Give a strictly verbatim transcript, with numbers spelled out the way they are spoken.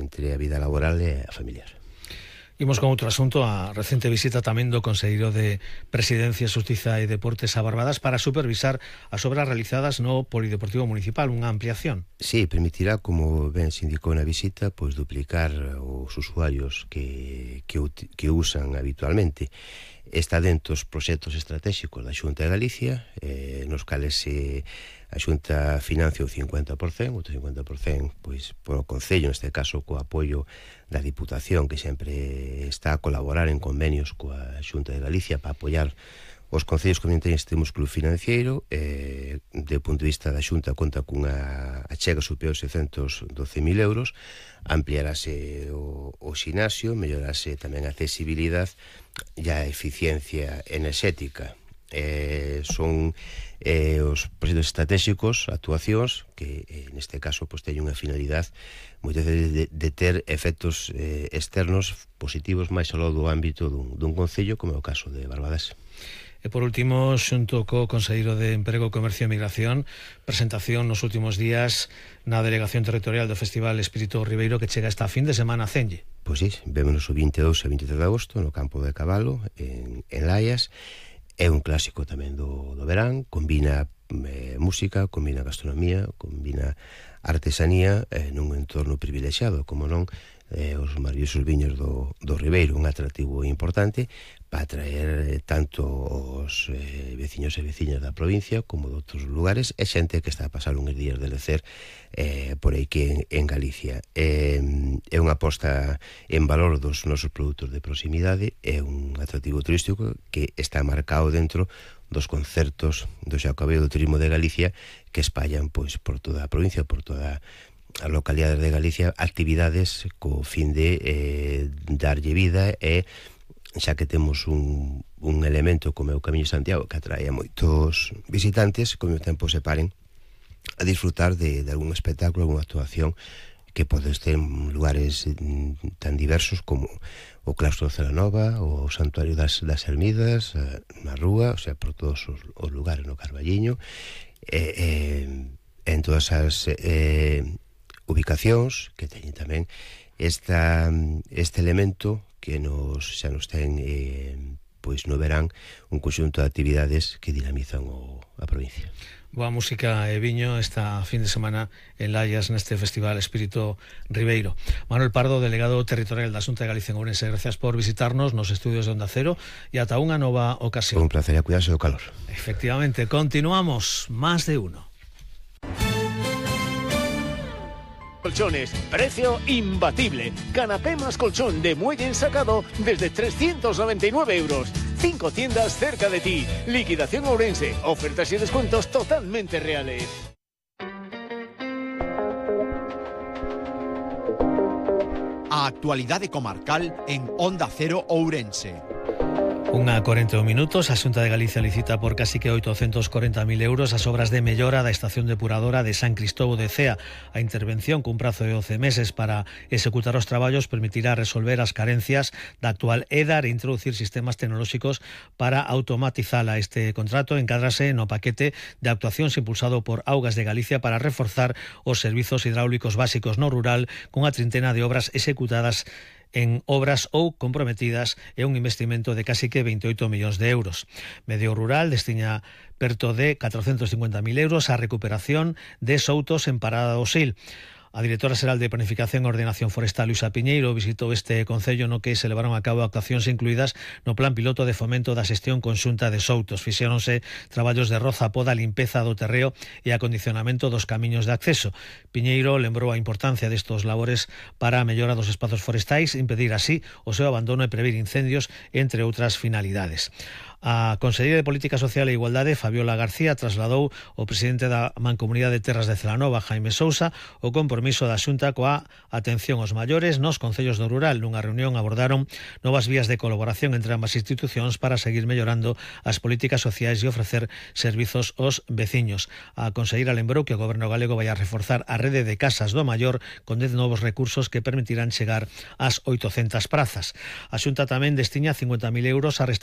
entre a vida laboral e a familiar. Imos con outro asunto, a recente visita tamén do Conselleiro de Presidencia, Xustiza e Deportes a Barbadas para supervisar as obras realizadas no Polideportivo Municipal, unha ampliación. Sí, permitirá, como ben se indicou na visita, pois duplicar os usuarios que, que, que usan habitualmente. Está dentro dos proxectos estratégicos da Xunta de Galicia, eh, nos cales se a Xunta financia o cincuenta por cento, outro cincuenta por cento pois, polo Concello, neste caso co apoio da Diputación, que sempre está a colaborar en convenios coa Xunta de Galicia para apoiar os concellos que non teñen este músculo financiero. Eh, de punto de vista da Xunta conta cunha achega superior a seiscentos doce mil euros, ampliarase o, o xinasio, mellorase tamén a accesibilidade e a eficiencia enerxética. Eh, son eh, os proxectos estratégicos, actuacións que eh, neste caso pues, teñen unha finalidade moitas veces de, de ter efectos eh, externos positivos máis ao do ámbito dun, dun concello, como é o caso de Barbadas. E por último, xunto co Conselleiro de Emprego, Comercio e Migración, presentación nos últimos días na Delegación Territorial do Festival Espírito Ribeiro, que chega esta fin de semana a Cenlle. Pois sí, vémonos o vinte e dous e vinte e tres de agosto no Campo de Cabalo, en, en Laias. É un clásico tamén do, do verán, combina eh, música, combina gastronomía, combina artesanía eh, nun entorno privilexiado, como non, eh, os maravillosos viños do, do Ribeiro, un atractivo importante para atraer eh, tanto os eh, veciños e veciñas da provincia como de outros lugares, e xente que está a pasar uns días de lecer eh, por aí que en, en Galicia. Eh, é unha aposta en valor dos nosos produtos de proximidade, é un atractivo turístico que está marcado dentro dos concertos do Xacobeo do Turismo de Galicia, que espallan pois por toda a provincia, por toda a localidade de Galicia, actividades co fin de eh, darlle vida, e xa que temos un, un elemento como é o Camiño de Santiago que atrae a moitos visitantes, como o tempo se paren a disfrutar de, de algún espectáculo, algunha actuación que podes ter en lugares tan diversos como o Claustro de Celanova, o Santuario das, das Ermidas, na Rúa, o sea, por todos os, os lugares, no Carballiño, e, e, en todas as eh, ubicacións que teñen tamén esta, este elemento que nos, xa nos ten eh, pois no verán un conxunto de actividades que dinamizan o, a provincia. Boa música e viño esta fin de semana en Laias neste Festival Espírito Ribeiro. Manuel Pardo, delegado territorial da Xunta de Galicia en Ourense, gracias por visitarnos nos estudios de Onda Cero e ata unha nova ocasión. Un placer, a cuidarse do calor. Efectivamente, continuamos, más de uno. Colchones, precio imbatible. Canapé más colchón de muelle ensacado desde trescientos noventa y nueve euros. Cinco tiendas cerca de ti. Liquidación Ourense. Ofertas y descuentos totalmente reales. A actualidade comarcal en Onda Cero Ourense. Unha corenta e un minutos, a Xunta de Galicia licita por casi que oitocentos corenta mil euros as obras de mellora da estación depuradora de San Cristóbal de Cea. A intervención cun prazo de doce meses para executar os traballos permitirá resolver as carencias da actual E D A e introducir sistemas tecnolóxicos para automatizala. Este contrato encádrase no paquete de actuacións impulsado por Augas de Galicia para reforzar os servizos hidráulicos básicos no rural, cunha trintena de obras executadas en obras ou comprometidas e un investimento de casi que veintioito millóns de euros. Medio Rural destina perto de catrocentos cincuenta mil euros a recuperación de soutos en Parada do Sil. A directora xeral de Planificación e Ordenación Forestal, Luisa Piñeiro, visitou este concello no que se levaron a cabo actuacións incluídas no plan piloto de fomento da xestión conxunta de soutos. Fixéronse traballos de roza, poda, limpeza do terreo e acondicionamento dos camiños de acceso. Piñeiro lembrou a importancia destos labores para a mellora dos espazos forestais, impedir así o seu abandono e prever incendios, entre outras finalidades. A Conselleira de Política Social e Igualdade, Fabiola García, trasladou ao presidente da Mancomunidade de Terras de Celanova, Jaime Sousa, o compromiso da Xunta coa atención aos maiores nos concellos do rural. Nunha reunión abordaron novas vías de colaboración entre ambas institucións para seguir mellorando as políticas sociais e ofrecer servizos aos veciños. A conselleira lembrou que o Goberno galego vai a reforzar a rede de casas do maior con dez novos recursos que permitirán chegar ás oitocentas prazas. A Xunta tamén destina cincuenta mil euros a restaurar